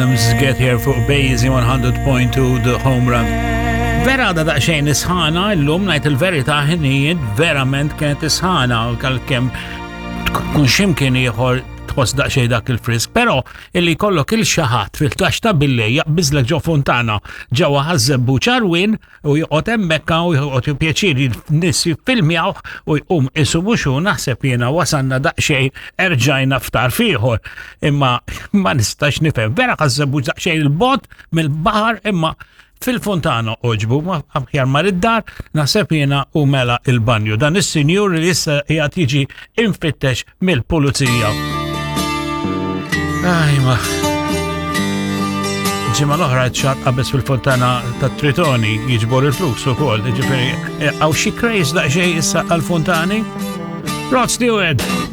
Adams Get Here fuq Bazy 100.2 The Home Run. Vera għada daqxejn isħana, l-lum najt il-verita ħinijiet verament kienet isħana, għal-kem tkun ximkien ieħor tħoss daqxejn dak il-frisk, pero illi kollok il-xaħat fil-tax ta' billej jaqbiżlek ġo fontana ġewwa ħażebbu ċarwin u joqgħod hemmhekk u joqgħod pjaċir nies jiffilmjaw u jqum isu mhux hu naħseb jiena wasalna daqsxejn erġajna ftar fieħor. Imma ma nistax nifhem. Vera ħassebu daqsxejn il-bot mill-baħar imma fil-fontana oġbu, ma aħjar mar id-dar, naħseb jiena u mela il-banju. Dan is-sinjur li issa qiegħed jiġi infittex mill-pulizija. Ajma. Ġimgħa l-oħra ċar qabeż fil-fontana ta' Tritoni jiġbor il-flus ukoll, ġifieri eh, hawn xi craze daqsxejn issa għall-fontani. Rod Stewart.